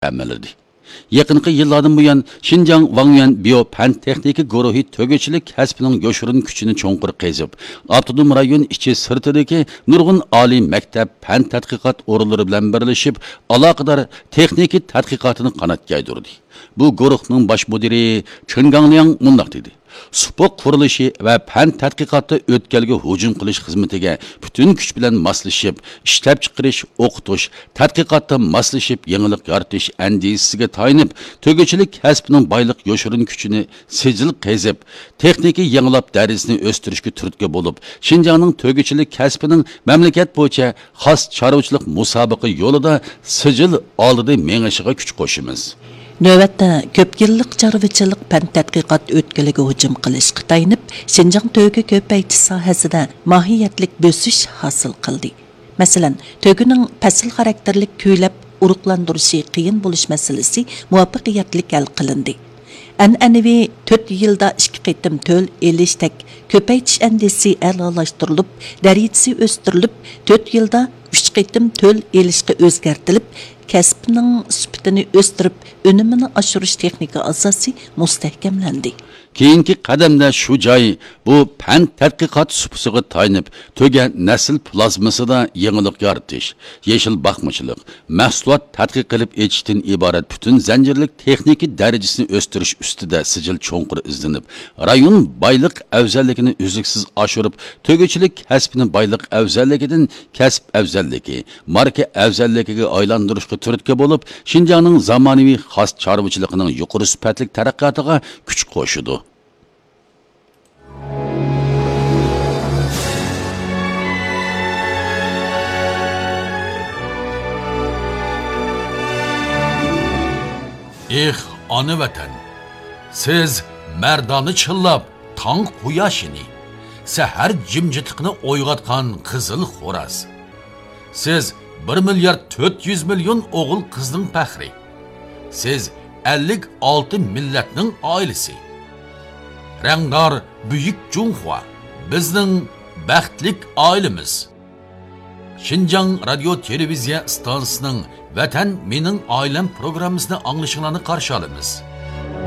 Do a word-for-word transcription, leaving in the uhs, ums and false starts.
تەمىنلىدى. يېقىنقى يىللاردىن بۇيان، شىنجاڭ ۋاڭيۈەن بىيو پەن تېخنىكا گۇرۇھى تۆگىچىلىك كەسپىنىڭ يوشۇرۇن كۈچىنى چوڭقۇر قېزىپ، ئاپتونوم رايون ئىچى سىرتىدىكى نۇرغۇن ئالىي مەكتەپ، پەن تەتقىقات ئورۇنلىرى بىلەن بىرلىشىپ، ئالاقىدار تېخنىكا تەتقىقاتىنى قانات يايدۇردى. بۇ گۇرۇھنىڭ باش مۇدىرى چېن گاڭلياڭ مۇنداق دېدى: سۇپۇق قۇرۇلۇشى ۋە پەن تەتقىقاتتا ئۆتكەلگە ھۇجۇم قىلىش خىزمىتىگە پۈتۈن كۈچ بىلەن ماسلىشىپ، ئىشلەپچىقىرىش، ئوقۇتۇش، تەتقىقاتتا ماسلىشىپ يېڭىلىق يارىتىش ئەندىزىسىگە تايىنىپ، تۆگىچىلىك كەسپىنىڭ بايلىق يوشۇرۇن كۈچىنى سىجىل قېزىپ، تېخنىكا يېڭىلاپ دەرىجىسىنى ئۆستۈرۈشكە تۈرتكە بولۇپ، شىنجاڭنىڭ تۆگىچىلىك كەسپىنىڭ مەملىكەت بويىچە خاس چارۋىچىلىق مۇسابىقە يولىدا سىجىل ئالدىدا مېڭىشىغا كۈچ قوشىمىز. نۆۋەتتە كۆپ يىللىق چارۋىچىلىق پەن تەتقىقات ئۆتكىلىگە ھۇجۇم قىلىشقا تايىنىپ، شىنجاڭ تۆگە كۆپەيتىش ساھەسىدە ماھىيەتلىك بۆسۈش ھاسىل قىلدى. مەسىلەن، تۆگىنىڭ پەسىل خاراكتېرلىك كۈيلەپ ئۇرۇقلاندۇرۇشى قىيىن بولۇش مەسىلىسى مۇۋەپپەقىيەتلىك ھەل قىلىندى. ئەنئەنىۋى تۆت يىلدا ئىككى قېتىم تۆل ئېلىشتەك كۆپەيتىش ئەندىزىسى ئەلالاشتۇرۇلۇپ، دەرىجىسى ئۆستۈرۈلۈپ، تۆت يىلدا ئۈچ قېتىم تۆل ئېلىشقا ئۆزگەرتىلىپ، كەسىپنىڭ سۈپىتىنى ئۆستۈرۈپ، ئۈنۈمىنى ئاشۇرۇش تېخنىكا ئاساسى مۇستەھكەملەندى. كېيىنكى قەدەمدە شۇ جاي، بۇ پەن تەتقىقات سۇپىسىغا تايىنىپ، تۆگە نەسىل پلازمىسىدا يېڭىلىق يارىتىش، يېشىل باقمىچىلىق، مەھسۇلات تەتقىق قىلىپ ئېچىشتىن ئىبارەت پۈتۈن زەنجىرلىك تېخنىكا دەرىجىسىنى ئۆستۈرۈش ئۈستىدە سىجىل چوڭقۇر ئىزدىنىپ، رايون بايلىق ئەۋزەللىكىنى ئۈزلۈكسىز ئاشۇرۇپ، تۆگىچىلىك كەسپىنى بايلىق ئەۋزەللىكىدىن كەسىپ ئەۋزەللىكى، ماركا ئەۋزەللىكىگە ئايلاندۇرۇشقا تۈرتكە بولۇپ، شىنجاڭنىڭ زامانىۋى خاس چارۋىچىلىقىنىڭ يۇقىرى سۈپەتلىك تەرەققىياتىغا كۈچ قوشىدۇ. ئېھ، ئانا ۋەتەن! سىز مەردانە چىللاپ تاڭ قۇياشىنى، سەھەر جىمجىتلىقىنى ئويغاتقان قىزىل خوراز. سىز بىر مىليارد تۆت يۈز مىليون ئوغۇل-قىزنىڭ پەخرى. سىز ئەللىك ئالتە مىللەتنىڭ ئائىلىسى. رەڭدار بۈيۈك جۇڭخۇا، بىزنىڭ بەختلىك ئائىلىمىز. شىنجاڭ رادىيو تېلېۋىزىيە ئىستانسىسىنىڭ ۋەتەن مېنىڭ ئائىلەم پروگراممىسىنى ئاڭلىشىڭلارنى قارشى ئالىمىز.